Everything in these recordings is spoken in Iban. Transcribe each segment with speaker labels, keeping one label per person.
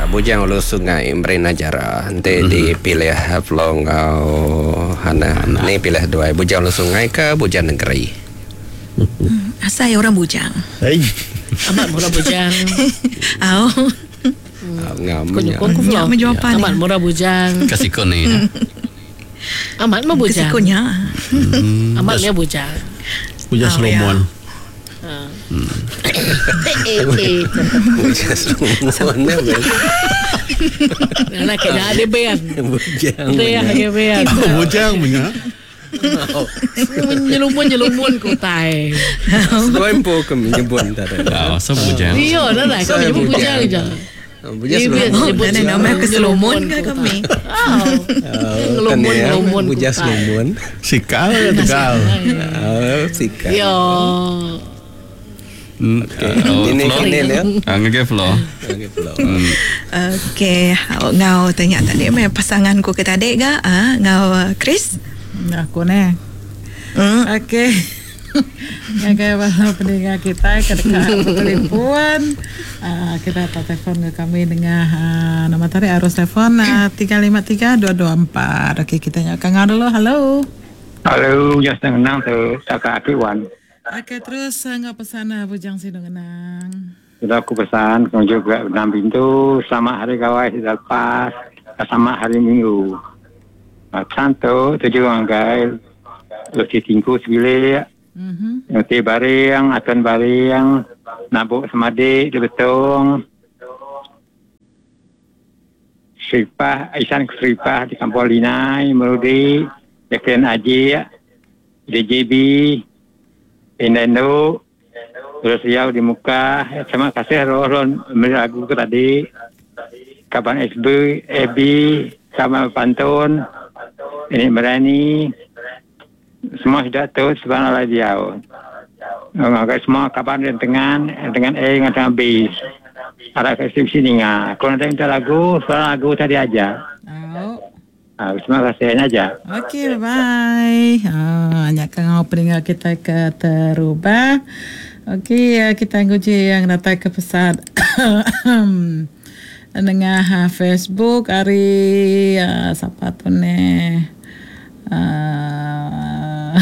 Speaker 1: Bujang Ulu Sungai Marina Jara enti dipilih Flo enggau Hannah ni pilih duai Bujang Ulu Sungai ke Bujang Negeri.
Speaker 2: Asai orang bujang.
Speaker 3: Amat murah bujang.
Speaker 2: Au.
Speaker 1: Ngam
Speaker 3: Ku nyukung ku Flo.
Speaker 2: Nya meh jawapan
Speaker 3: Amat murah bujang.
Speaker 4: Ke siku ni.
Speaker 3: Amat meh
Speaker 2: Ke
Speaker 3: bujang.
Speaker 2: siku nya.
Speaker 3: Amat meh bujang.
Speaker 5: Bujang Solomon.
Speaker 1: Bujang Solomon nya meh.
Speaker 3: Anak ke nya dia ben.
Speaker 1: Bujang.
Speaker 3: Dia dia ben.
Speaker 5: Bujang menya.
Speaker 3: Nyelumun-nyelumun ke utai.
Speaker 1: Seduai empu ke menyebut tadi.
Speaker 4: Ah, so bujang.
Speaker 3: Iya, dah lah. Kau menyebut bujang je.
Speaker 1: Bujang Solomon.
Speaker 2: Oh, dah nama ke Solomon ke kami.
Speaker 3: Ngelumun-ngelumun ke
Speaker 1: Bujang
Speaker 3: utai.
Speaker 1: Solomon.
Speaker 5: Sikal ke Tegal?
Speaker 1: Oh, sikal.
Speaker 3: Ya.
Speaker 1: Okey.
Speaker 4: Oh,
Speaker 1: Ini
Speaker 4: Flo.
Speaker 1: kini ya.
Speaker 4: Ah, ngagai Flo.
Speaker 1: Okey, Flo.
Speaker 2: Okey, ngau tanya tadi meh pasangan ku ke tadi ga ah ngau Chris.
Speaker 6: Aku neh. Okey. Ngagai bala peninga kitai ke deka betelefon uhh kita tau telefon enggau kami nengah uhh nama tadi arus telefon 353 224. Okey kita nyau ka enggau dulu. Hello.
Speaker 7: Hello, nya senang ngenang tu tauka aki wan.
Speaker 6: Okey terus enggau pesan Bujang Sinu Ngenang.
Speaker 7: Sudah aku pesan ke juga enam pintu selamat hari gawai sida lepas selamat hari minggu. Pesan tu tuju ngagai Lucy Tingku sebilik, Nuti Baring, Aton Baring, Nabuk Semadik di Betong, Seripah, Isan Seripah di Kampung Linai, Merudi, Jacqueline Ajik, DJB, Indai Endu, Terus Riau di Mukah. Terima kasih roh roh meri lagu ke tadi. Kaban SB, AB, kaban Pantun, ini Berani. Semua sudah tu sebab alai diau. Ngagai semua kaban di tengan, dengan A dengan tengah B. Ada ke sini ninga. Kalau nanti minta lagu, soal lagu tadi aja.
Speaker 6: Au.
Speaker 7: Ah, terima kasih nya aja.
Speaker 6: Okey, bye bye. Ah, nya ke ngau peninga kita ke terubah. Okey, kita nguji yang datai ke pesat nengah Facebook ari sapa tu neh. Aaa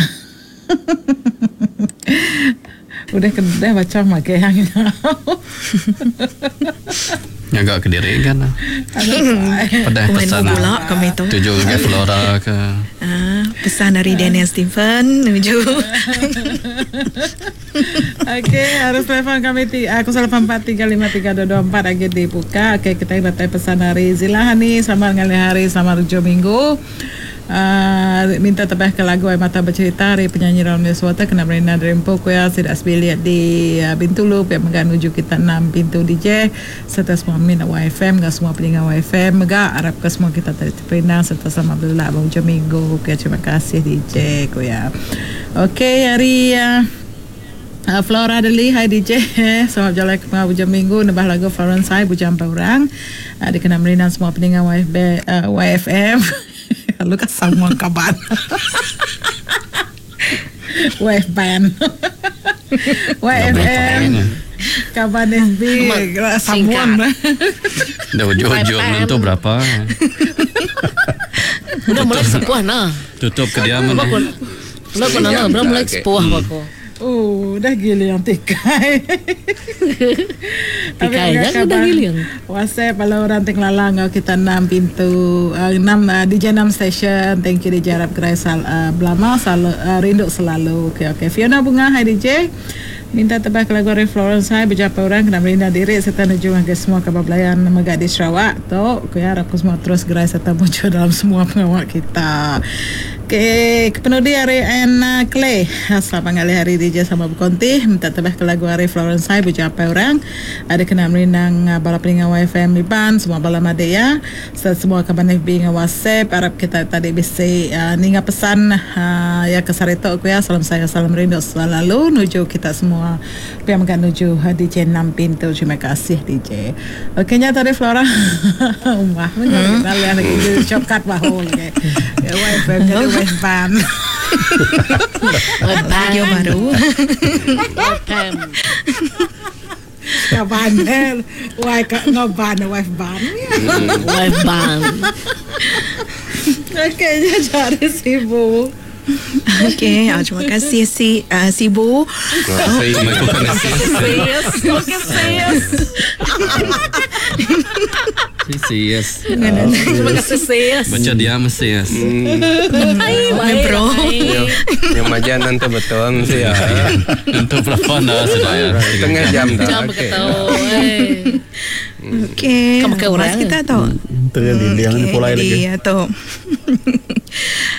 Speaker 6: Udah ke deh baca magi hang nya.
Speaker 4: Ngaga kediri kan. Pedah
Speaker 2: Komen
Speaker 4: pesan
Speaker 2: bula kami tu.
Speaker 4: Tuju ngagai Flora ke.
Speaker 2: Aaa pesan ari Daniel Stephen nuju.
Speaker 6: Okey arus telefon kami ti 08435324 agi dibuka. Okey kitai datai pesan ari Zila Hani selamat ngalih hari selamat ujung minggu. Aaa minta tebah ke lagu Ai Mata Becerita ari penyanyi Romeo Suwata kena Marina dari empu ku iya sida sebilik di Bintulu pia mega nuju kita enam pintu DJ serta semua min YFM enggau semua peninga YFM mega arap ke semua kita tadi teperindang serta selamat belelak ba ujung minggu ku iya terima kasih DJ ku iya. Okey ari Flora Deli hai DJ selamat bejalai ke pengawa ujung minggu nebah lagu Florence Hai Bujang Empai Orang dikena merindang semua peninga YFB YFM. Lalu ka sama kaban. Wife band. YFM. Kaban FB samun.
Speaker 4: Dah ujung-ujung nentu berapa.
Speaker 3: Udah mulai sepuh nah.
Speaker 4: Tutup ke dia mana.
Speaker 3: Udah ko nana, udah mulai sepuh aku.
Speaker 6: Oh, udah giling tikai.
Speaker 3: Tikai nya udah giling.
Speaker 6: WhatsApp bala orang ti ngelala enggau kita enam pintu enam DJ enam station. Thank you DJ arap gerai sal belama selalu rindu selalu. Okey okey. Fiona Bunga hi DJ. Minta tebah ke lagu ari Florence Hai bejapai orang kena merinda diri serta nuju ngagai semua kaban belayan mega di Sarawak tu. Ku iya arap ke semua terus gerai serta mujur dalam semua pengawa kita. Okey, kepenudi ari Anna Clay. Selamat ngalih hari DJ sama bekonti. Minta tebah ke lagu ari Florence Hai bejapai orang. Ada kena merindang bala peninga YFM Iban, semua bala madik iya. Serta semua kaban FB enggau WhatsApp. Arap kita tadi bisi ninga pesan iya ke sehari tu ku iya. Salam sayau salam rindu selalu nuju kita semua. Pia mega nuju DJ Nampin tu. Terima kasih DJ. Okey nya tadi Flora. Umbah meh nya lagi nalih lagi shortcut bahu lagi. YFM jadi YFM.
Speaker 2: Video baru.
Speaker 3: YFM.
Speaker 6: Kaban eh wife ka enggau ban wife ban.
Speaker 3: Wife ban.
Speaker 6: Okey nya jari Sibu.
Speaker 2: Okey, ah, terima kasih si uh, Sibu.
Speaker 1: Terima kasih.
Speaker 3: Sis, okey sis.
Speaker 4: Sis.
Speaker 3: Terima kasih sis.
Speaker 4: Baca dia mesti yes.
Speaker 3: Hai,
Speaker 2: Ni bro.
Speaker 1: Yang majan nanti betul mesti ya.
Speaker 4: Untuk berapa dah sudah ya?
Speaker 1: Tengah jam dah.
Speaker 3: Jam
Speaker 1: Okey.
Speaker 3: begitu. Eh.
Speaker 2: Okey.
Speaker 3: Kamu ke
Speaker 2: Mas
Speaker 3: orang?
Speaker 2: kita tu.
Speaker 5: Tengah dinding ni pulai lagi.
Speaker 2: Iya tu.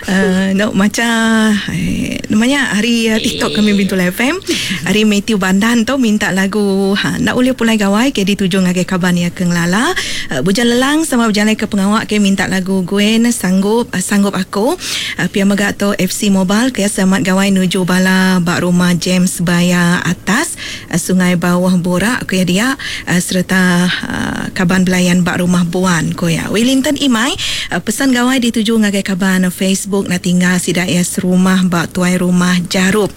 Speaker 2: Uh, no, macam eh, namanya hari uh, TikTok kami Bintu FM hari Matthew Bandan tu minta lagu ha, nak boleh pulai gawai ke dituju ngagai kaban ya ke ngelala uh, Bujang Lelang sama berjalan ke pengawak ke minta lagu Gwen sanggup uh, sanggup aku uh, pia megak tu FC Mobile ke selamat gawai nuju bala bak rumah James Baya atas uh, Sungai Bawah Borak ku ya dia uh, serta uh, kaban belayan bak rumah Buan ku ya Wellington Imai uh, pesan gawai dituju ngagai kaban Facebook nak tinggal sidak ya serumah bak tuai rumah Jarup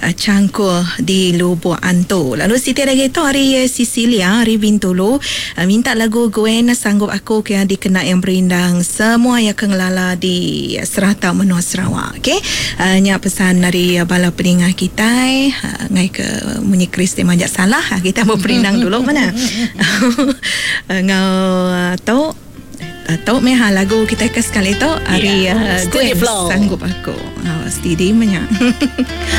Speaker 2: uh, Cangkul di Lubuk Antu. Lalu Siti lagi tu hari uh, Sicilia, hari Bintulu uh, minta lagu Gwen sanggup aku ke yang dikena yang berindang semua yang kengelala di serata menua Sarawak. Okey. Uh, nya pesan dari uh, bala peningah kita uh, ngai ke munyi Chris dia majak salah. Uh, kita mau perindang dulu mana? uh, ngau uh, tu Tau meh ha, lagu kita ke sekali tu hari
Speaker 3: Yeah.
Speaker 2: yeah.
Speaker 3: Steady
Speaker 2: Gwen
Speaker 3: flow.
Speaker 2: sanggup aku. Ha, steady banyak.